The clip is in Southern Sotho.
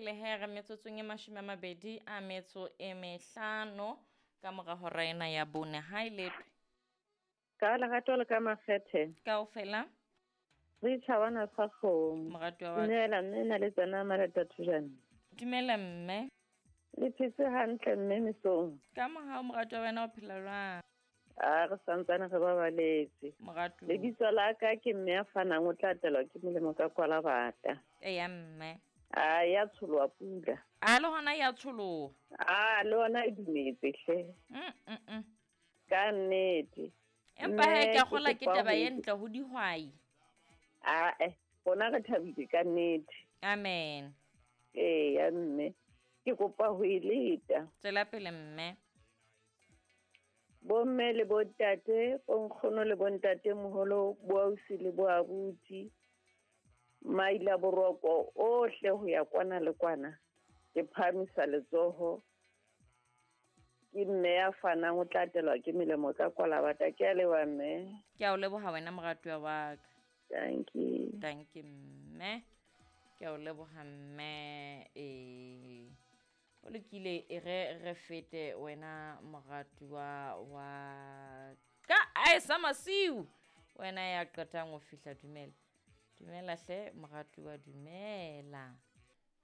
pele he re metsotsong e 25 ka mora hora ena ya 4. Ha e letwe. Ka lerato le ka makgethe. Kaofela. Re tjhabana sa kgomo. Moratuwa wa ka. Dumela mme na le tsena Marata Thujane. Dumela mme. Le phetse hantle mme mesong. Ka mohau moratuwa wena o phela jwang? A re santsane re babaletse. Moratuwa. Lebitso la ka ke mme ya fanang o tla atelwa ke molemo ka kwala bata. Eya mme. A ya tsholoha pula. A le hona ya tsholoha. A le hona e dumetse hle. Ka nnete. Empa he ke a kgola ke kopa taba ho e ntle ho dihwai. Ae, rona re thabile ka nnete. Amen. Eya mme. Ke kopa ho e leta. Tswela pele mme. Bomme le bontate, bonkgono le bontate moholo, boausi le boabuti, maila boroko ohle ho ya kwana le kwana. Ke phahamisa letsoho. Ke mme ya fanang o tla atelwa ke melemo ka kwala bata. Ke a leboha mme. Ke a o leboha wena moratuwa wa ka. Thank you. Thank you mme. Ke a o leboha mme. O lokile e re re fete wena moratuwa wa ka. Ae sa masiu. Wena ya qetang ho fihla. Dumela. Dumela hle moratuwa, dumela.